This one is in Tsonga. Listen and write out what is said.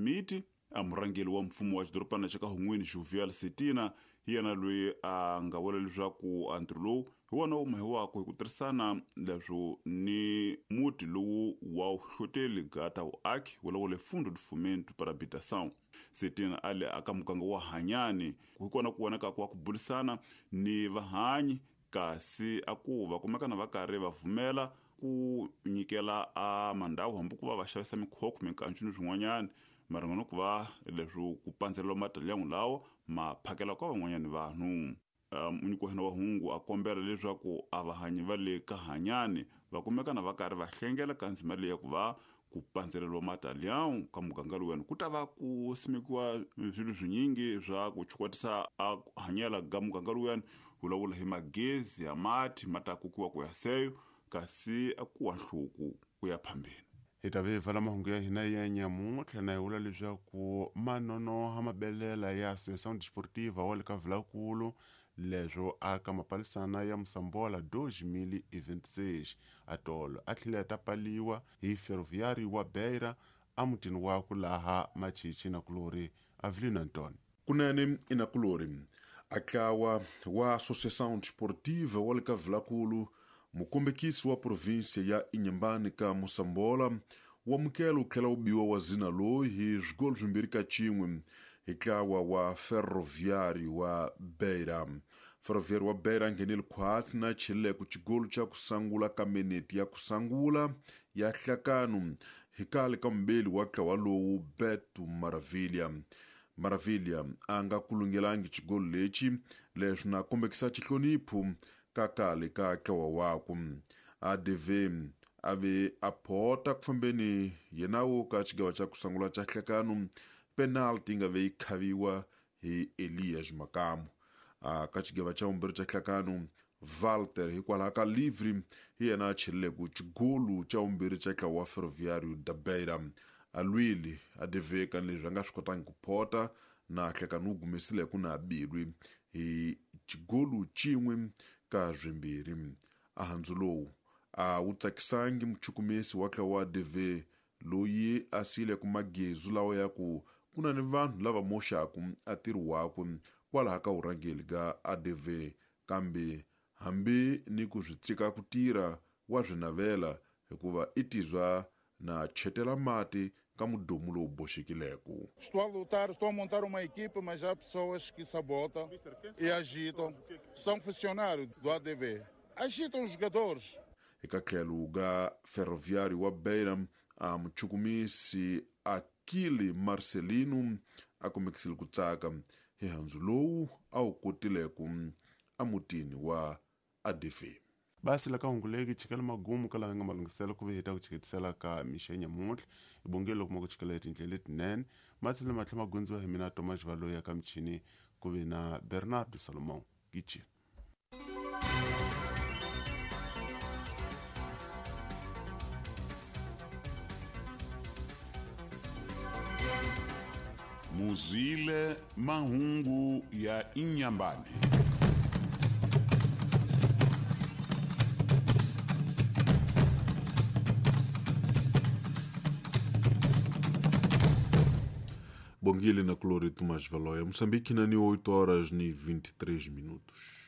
Miti a murhangeri wa mfumo wa xidorobana xa ka Hun'wini Jovial Setina hi yena loyi a nga vula leswaku a ntirho lowu hi wona wu mahiwaka hi ku tirhisana leswo ni muti lowu wa vuhloteli gata vuaki wolowo le Fundo de Fomento para Habitação. Setina a le aka muganga wa Hanyani hi kona ku vonaka ku wa ku burisana ni vahanyi kasi a ku va kumekana va karhi va pfumela ku nyikela a mandhawu hambi ku va va xavisa mikhokho minkancu ni swin'wanyana maringana ku va leswo ku pandzeleriwa matalyangu lawa ma phakela ka van'wanyani vanhu. Munyiki wa hina wa hungu a kombela leswaku a vahanyi va le ka Hanyani va kumekana va karhi va hlengela ka ndzima leyi ya ku va ku pandzeleriwa matalyangu ka muganga lowuyani ku ta va ku simekiwa swilo swinyingi swa ku chukwatisa a hanyela ga muganga lowuyani vulavula hi magezi ya mati ma ta kokiwa ku ya seyo kasi a ku wa nhluku ku ya phambeni. Hi ta ve vala mahungu ya hina ya nyamuntlha na hi vula leswaku manonoha mabelela ya Associação Desportiva wa le ka Vilakulu leswo aka mapalisana ya Mosambola 2026 atolo a tlhela ta paliwa hi Ferroviário wa Beira emutini wakwe laha Machichi na Kulori Avelino Antonio. Kunene inakulori a tlawa wa Associação Desportiva wa le ka Vilakulu mukombekisi wa província ya Inhambane ka Mosambola wu amukela wu tlhela wu biwa wa zina loyi hi swigolo swimbirhi ka xin'we hi ntlawa wa Ferroviário wa Beira. Ferroviário wa Beira a nghenile khwatsi na cheleko xigolo xa ku sangula ka meneti ya ku sangula ya hlakano hi kale ka mubeli wa ntlawa lowu Beto Maravilha. Maravilha a nga kulungelangi xigolo lexi leswi na kombekisa xihlonipho ka kale ka ntlawa wakwe. ADV a ve a phota ku fambeni yenawo ka xigava xa ku sungula xa hlekano penalty yi nga ve yi khaviwa hi Elias Makamu. Ka xigava xa vumbirhi xa hlekano Walter hikwalaho ka livri hi yena a cheleleke xigolu xa vumbirhi xa ntlawa wa Ferroviário da Beira. A lwile ADV ka leswi a nga swi kotangi ku phota na hlekano wu gumesile ku na bilwi hi xigolu xin'we ka swimbirhi. A handzu lowu a wu tsakisangi muchukumisi wa ntlawa wa ADV loyi a siyileke magezu lawa ya ku ku na ni vanhu lava moxaku a ntirho wakwe kwalaho ka vurhangeri ka ADV kambe hambi ni ku swi tshika ku tirha wa swi navela hikuva i tizwa na chetela mati ka mudomu lowu boxekileko. Estou a lutar, estou a montar uma equipe, mas há pessoas que sabotam e agitam. São funcionários do ADV. Agitam os jogadores. Eka tlhelo ka Ferroviário wa Beira a muchukumisi Akili Marcelino a kumekisile ku tsaka hi handzu lowu a wu kotileko emutini wa ADV. Basi la ka hunguleki chikela magumu ka laha nga malunghiselo ku ve hi ta ku chiketisela ka mixa nyamuntlha hi bongile loko ma ku chikela hi tindlela letinene matselo matlhe ma gundziwa hi mina Thomas Valoyi ya ka michini ku ve na Bernardo Salomão Gichi. Muzwile mahungu ya Inhambane. Bongile na Clori Tomás Valoia, Moçambique, na 8 horas e 23 minutos.